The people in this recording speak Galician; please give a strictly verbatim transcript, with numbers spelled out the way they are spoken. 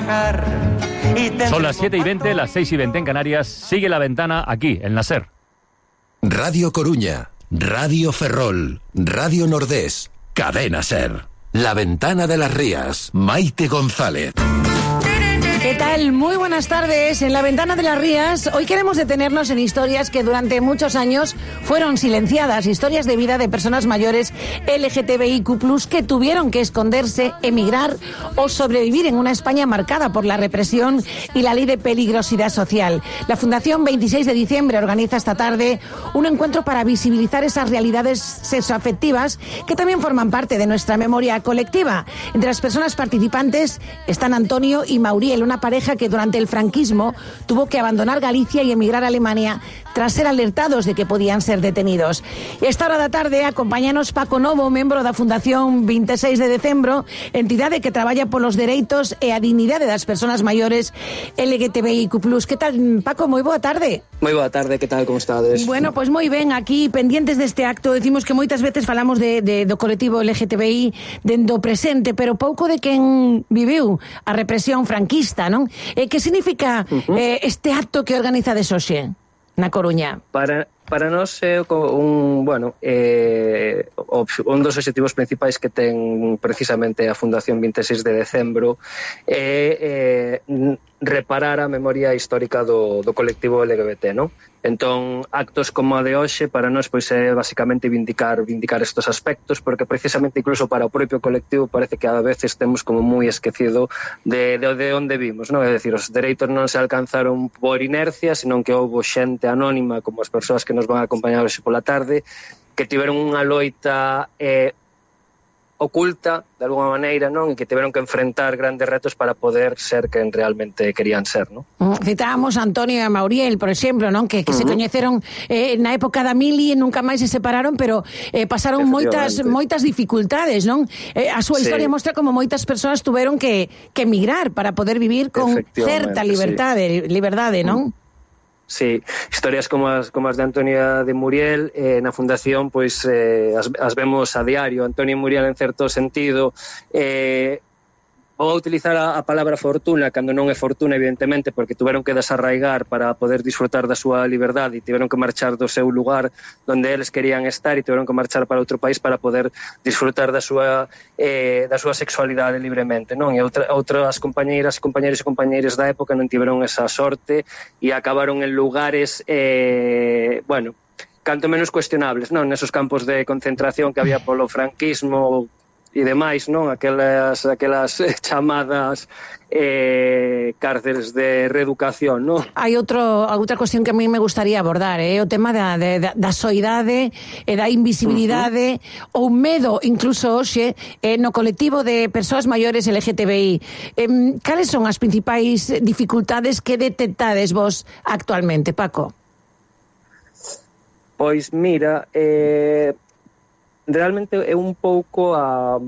trabajar. Y Son las siete y veinte, las seis y veinte en Canarias. Sigue La Ventana aquí, en la SER. Radio Coruña, Radio Ferrol, Radio Nordés, Cadena SER. La Ventana de las Rías, Maite González. ¿Qué tal? Muy buenas tardes. En La Ventana de las Rías, hoy queremos detenernos en historias que durante muchos años fueron silenciadas, historias de vida de personas mayores L G T B I Q plus, que tuvieron que esconderse, emigrar o sobrevivir en una España marcada por la represión y la ley de peligrosidad social. La Fundación veintiséis de diciembre organiza esta tarde un encuentro para visibilizar esas realidades sexoafectivas que también forman parte de nuestra memoria colectiva. Entre las personas participantes están Antonio y Mauriel, una pareja que durante el franquismo tuvo que abandonar Galicia y emigrar a Alemania tras ser alertados de que podían ser detenidos. E esta hora da tarde acompáñanos Paco Novo, membro da Fundación veintiséis de decembro, entidade que traballa polos dereitos e a dignidade das persoas maiores L G T B I Q plus. Que tal, Paco? Moi boa tarde. Moi boa tarde, que tal, como estades? Bueno, pois pues moi ben, aquí pendientes deste acto. Decimos que moitas veces falamos de, de, do colectivo L G T B I dendo presente, pero pouco de quen viviu a represión franquista, non? Eh, que significa uh-huh. eh, este acto que organizades hoxe na Coruña? Para, para nós é un, bueno, eh, un dos obxectivos principais que ten precisamente a Fundación veintiséis de decembro é eh, reparar a memoria histórica do, do colectivo L G B T, non? Entón, actos como a de hoxe para nós pois é basicamente vindicar vindicar estos aspectos, porque precisamente incluso para o propio colectivo parece que a veces temos como moi esquecido de, de, de onde vimos, non? É dicir, os dereitos non se alcanzaron por inercia, senón que houbo xente anónima, como as persoas que nos van a acompañar hoxe pola tarde, que tiveron unha loita eh, oculta, de alguma maneira, non? E que tiveron que enfrentar grandes retos para poder ser quen realmente querían ser, non? Citábamos a Antonio e a Mauriel, por exemplo, non? Que, que uh-huh. se coñeceron eh, na época da mili e nunca máis se separaron, pero eh, pasaron moitas moitas dificultades, non? Eh, a súa historia sí. mostra como moitas persoas tuveron que, que emigrar para poder vivir con certa liberdade, sí. liberdade, non? Uh-huh. Sí, historias como as, como as de Antonio de Muriel eh, na Fundación pois eh, as, as vemos a diario. Antonio e Muriel en certo sentido eh, vou utilizar a, a palabra fortuna cando non é fortuna, evidentemente, porque tuveron que desarraigar para poder disfrutar da súa liberdade e tiveron que marchar do seu lugar donde eles querían estar e tiveron que marchar para outro país para poder disfrutar da súa eh, da súa sexualidade libremente, non? E outra, outras compañeiras, compañeiros e compañeiras da época non tiveron esa sorte e acabaron en lugares eh, bueno, canto menos cuestionables, non? Nesos campos de concentración que había polo franquismo e demais, non? Aquelas, aquelas chamadas eh, cárceles de reeducación, non? Hai outro, outra cuestión que a mí me gustaría abordar, é eh? o tema da, de, da, da soidade e da invisibilidade uh-huh. ou medo, incluso hoxe, eh, no colectivo de persoas maiores L G T B I. Eh, cales son as principais dificultades que detectades vos actualmente, Paco? Pois mira, eh... realmente é un pouco a,